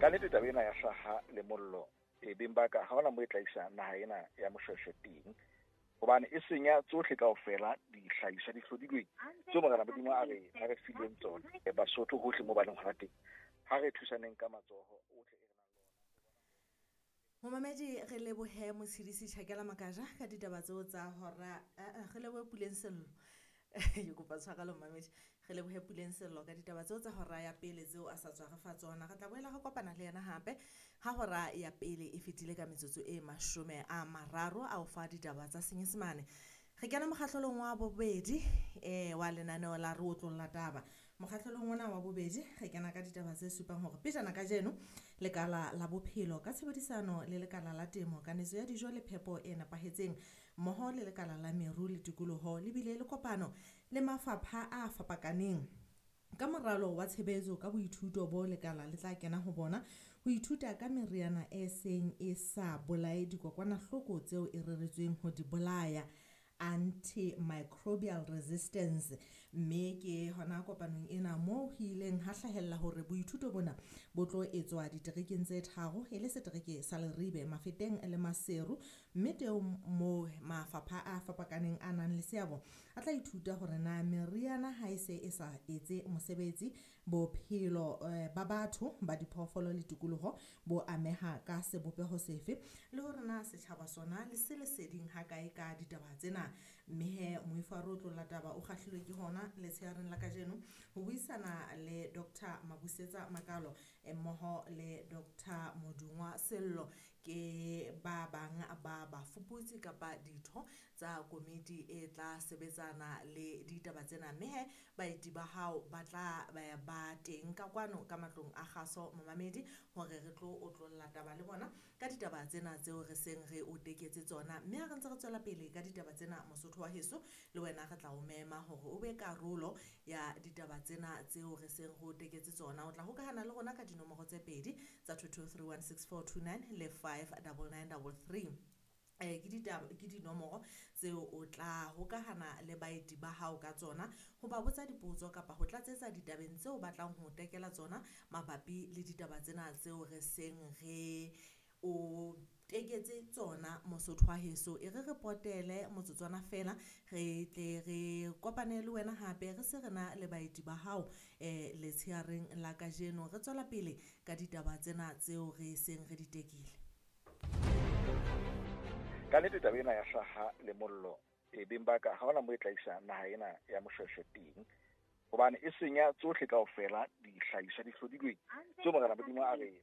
Ka nnete taba ena ya hlaha le mollo e beng ba ka ha hona mo e tla isa naha ena ya Moshweshwe teng, hobane e senya tsohle kaofela dihlahiswa di hlodilweng tseo Morena Modimo a re a re fileng tsona. Basotho hohle mo ba leng hona teng, ha re thusaneng ka matsoho ohle e re nang le ona. Momamedi, re lebohe Motshedisi Tjhakela Makaja ka ditaba tseo tsa hora, re lebohe Puleng Sello. Ke kopa tshwarelo momamedi. Re lebohe Puleng Sello ka ditaba tseo tsa hora ya pele tseo a sa tswa re fa tsona. Re tla boela re kopana le yena hape ha hora ya pele e fetile ka metsotso e 30 a o fa ditaba tsa Senyesemane. Re kena mokgahlelong wa bobedi wa lenaneo la Re Otlolla Taba. Mokgahlelong ona wa bobedi re kena ka ditaba tse supang hore pejana kajeno lekala la bophelo ka tshebedisano le lekala la temo, kanetso ya dijo le phepo e nepahetseng mmoho le lekala la meru le tikoloho le bile le kopano le mafapha a fapakaneng ka moralo wa tshebetso ka boithuto bo lekala le tla kena ho bona ho ithuta ka meriana e seng e sa bolaye dikokwanahloko tseo e reretsweng ho di bolaya, antimicrobial resistance. Mme ke hona kopanong ena moo ho ileng ha hlahella hore boithuto bona bo tlo etswa diterekeng tse tharo, e le setereke sa Leribe, Mafeteng le Maseru, mme teng moo mafapha a fapakaneng a nang le seabo a tla ithuta hore na meriana ha e se e sa etse mosebetsi, bophelo ba batho ba diphoofolo le tikoloho bo ameha ka sebopeho sefe, le hore na setjhaba sona le se leseding ha kae ka ditaba tsena. Mme he moifo wa Re Otlolla Taba o kgahlilwe ke hona letshehareng la kajeno ho buisana le Doctor Mabusetsa Makalo mmoho le Doctor Modungwa Sello, ke ba bang ba bafuputsi kapa ditho tsa komiti e tla sebetsana le ditaba tsena. Mme he baeti ba hao ba tla ba teng ka kwano ka matlong a kgaso momamedi hore re tlo otlolla taba le bona ka ditaba tsena tseo re seng re o teketse tsona. Mme ha re ntse re tswela pele ka ditaba tsena, Mosotho wa heso, le wena re tla o mema hore o be karolo ya ditaba tsena tseo re seng re o teketse tsona. O tla hokahana le rona ka dinomoro tse pedi tsa 22316429 le 59933. Ke ditaba, ke dinomoro tseo o tla hokahana le baeti ba hao ka tsona ho ba botsa dipotso kapa ho tlatsetsa ditabeng tseo ba tlang ho tekela tsona mabapi le ditaba tsena tseo re seng re o teketse tsona. Mosotho wa heso, e re re potele motsotswana fela re tle re kopane le wena hape re se re na le baeti ba hao letshehareng la kajeno. Re tswela pele ka ditaba tsena tseo re seng re di tekile. Ka nnete taba ena ya hlaha le mollo e beng ba ka ha hona mo e tla isa naha ena ya Moshweshwe teng, hobane e senya tsohle kaofela dihlahiswa di hlodilweng tseo Morena Modimo a re